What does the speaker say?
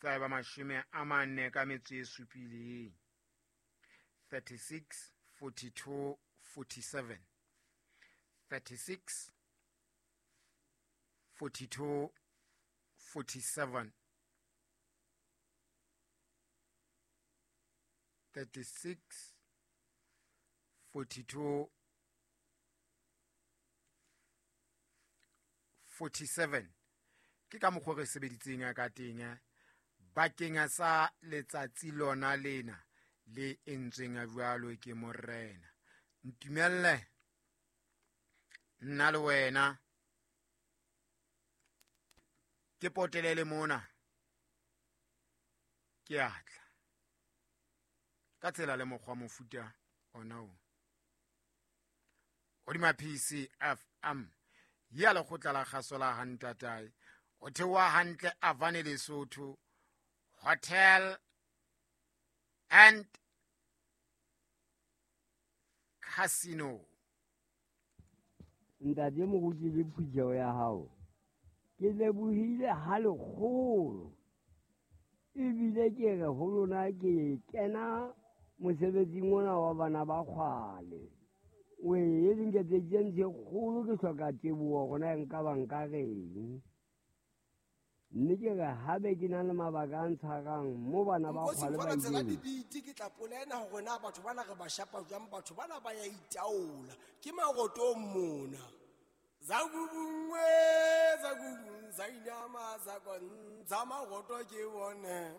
Tsa eba 47. 36 42 47. 36 42 47. 36 42 47. Ke ka mokgwa re sebeditseng ka teng bakeng sa letsatsi lona lena le entsweng jwalo ke morena. Ntumelle nna le wena ke potelele mona, ke atla ka tsela le mokgwa mofuta ona o hodima PCFM ya lekgotla la kgaso la hantatae o theoha hantle Avane Lesotho Hotel and Casino. Ntate moruti le phutheho ya hao, ke lebohile ha lekgolo, ebile ke re ho lona ke kena mosebetsing ona wa bana ba kgwale. O e nketseditse ntho e kgolo, ke hloka teboho hore na nka ba nka reng. Mme ke re haebe ke na le mabaka a ntshwarang mo bana ba Nkosi kgwale ba mfana tsela ileng. Dibiti ke tla polena hore na batho bana re ba shapa jwang, batho bana ba ya itaola ke marotong mona. Zakubungwe zakubung zainama zakonza maroto ke bone.